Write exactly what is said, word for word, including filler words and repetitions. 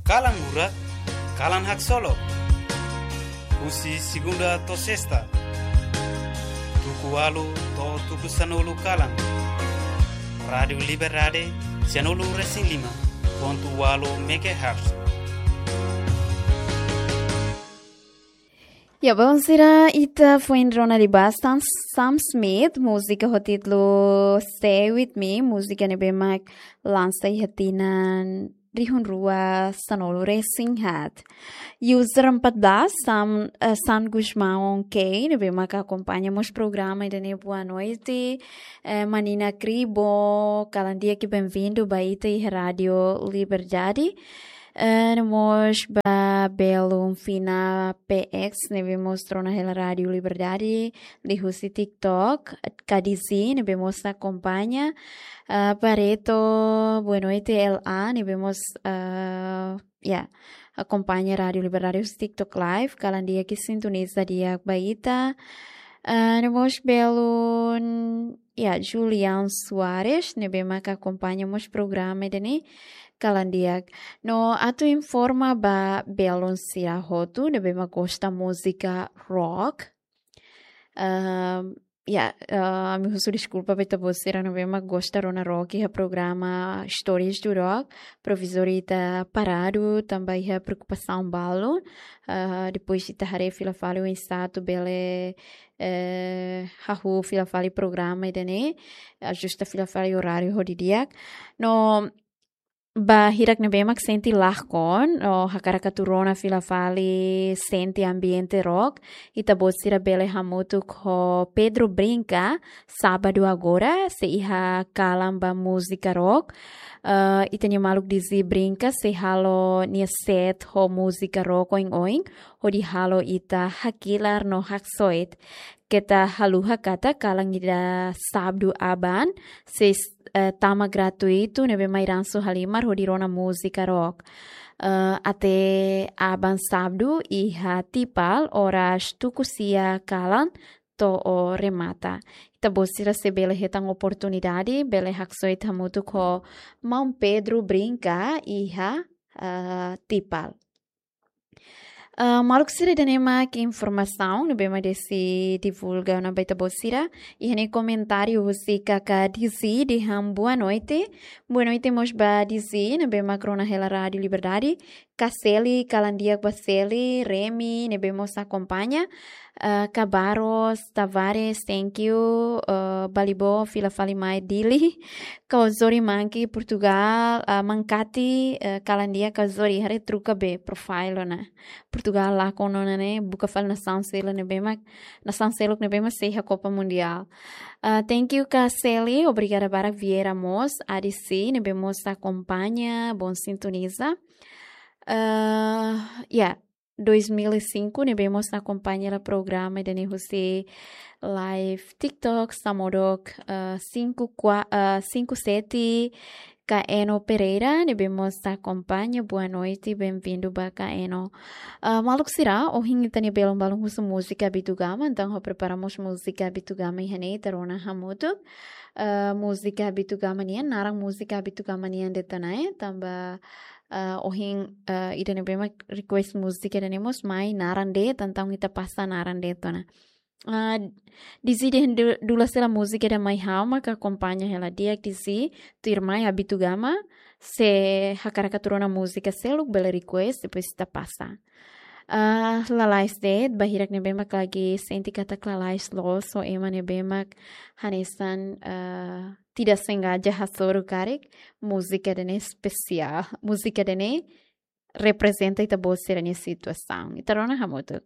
Kalan Murak, Kalan Haksolok. Husi segunda to'o sesta, tuku ualu to'o tuku sanulu kalan. Rádiu Liberdade, sanulu resin lima pontu ualu megahertz. Ya, belun sira, ita foin rona liubá Sam, Sam Smith, múzika ho títulu Stay With Me, múzika ne'ebé mak lansa iha tinan rihun rua sanulu resin haat. User empat belas, Sam, eh, San Gusmão K, ne'ebé mak akompaña mós programa ida-ne'e, boa noite. Eh, Manina Kribo, kalan di'ak, benvindu ba ita iha Rádiu Liberdade. Eh, no mós ba belun Fina P X, ne'ebé mós rona hela Rádiu Liberdade liuhusi TikTok, Kadizi, ne'ebé mós akompaña. Eh, Pareto, boa noite, L A, ne'ebé mós, eh, ya, akompaña Rádiu Liberdade husi TikTok Live, kalan di'ak, sintoniza di'ak ba ita. Eh, no mós belun, ya, Julian Soares, ne'ebé mak akompaña mós programa ida-ne'e, kalan di'ak. No atu informa ba belun sira hotu ne'ebé mak gosta múzika rock. Ehm, ya, eh, ami husu deskulpa ba ita-boot sira ne'ebé mak gosta rona rock iha programa Stories do Rock. Provizóriu ita paradu tanba iha preokupasaun balu. Eh, depois ita haree fila fali oinsá atu bele, eh, hahú fila fali programa ida-ne'e, ajusta fila fali oráriu ho di'ak. No ba hirak ne'ebé mak sente lakon, no hakarak atu rona fila fali, sente ambiente rock, ita-boot sira bele hamutuk ho Pedro Brinca, sábadu agora, sei iha kalan ba múzika rock. Eh, ita-nia maluk Dizzy Brinca sei halo nia set ho múzika rock oin-oin, hodi halo ita hakilar no haksoit. Keta haluha katak kalan ida sábadu aban, sei, eh, tama gratuitu, ne'ebé mai ransu halimar hodi rona múzika rock. Eh, até aban sábadu iha Tipal, oras tuku sia kalan to'o remata. Ita-boot sira sei bele hetan oportunidade, bele haksoit hamutuk ho maun Pedro Brinca iha, eh, Tipal. Ah, maluk sira, ida-ne'e mak informasaun ne'ebé mak Desi divulga ona ba ita-boot sira. Iha ne'e komentáriu husi Kaka Dizzy dehan boa noite. Boa noite mós ba Dizzy ne'ebé mak rona hela Rádiu Liberdade. Ka Seli, kalan di'ak ba Seli, Remi ne'ebé mós akompaña. Ah, Ka Barros Tavares, thank you. Ah, Balibo, fila fali mai Dili. Ka Ozori Manki, Portugal, ah, Mankati, eh, kalan di'ak Ka Ozori, haree troka be profile ona. Portugal lakon ona ne'e, buka fali nasaun seluk ne'ebé mak, nasaun seluk ne'ebé mak sei iha Copa Mundial. Ah, thank you Ka Seli, obrigada barak. Vieira mós, A D C, ne'ebé mós akompaña, bom sintoniza. Ah, ya, dois mil e cinco, ne'ebé mós akompaña hela programa ida-ne'e husi live TikTok, Samodok, eh, cinco qua-, eh, cinco sete, Ka Eno Pereira, ne'ebé mós akompaña, boa noite, benvindu ba Ka Eno. Ah, maluk sira, ohin ita-nia belun balun husu múzika Abitugama, entaun ha'u prepara mós múzika Abitugama iha ne'e, ita rona hamutuk. Ah, múzika Abitugama nian, naran múzika Abitugama nian de'it ona, eh, tanba, ah, ohin, ah, ida ne'ebé mak request múzika ida-ne'e mós mai naran de'it, entaun ita pasa naran de'it ona. Ah, Dizzy dehan du-, dulas hela múzika ida mai ha'u mak akompaña hela di'ak Dizzy, tuirmai Abitugama, se hakarak atu rona múzika seluk bele request, depois ita pasa. Ah, lalais de'it, ba hirak ne'ebé mak lagi sente katak lalais loos, ou ema ne'ebé mak hanesan, ah, tidak sengaja hasoru karik, múzika ida-ne'e espesiál, múzika ida-ne'e reprezenta ita-boot sira-nia situasaun. Ita rona hamutuk.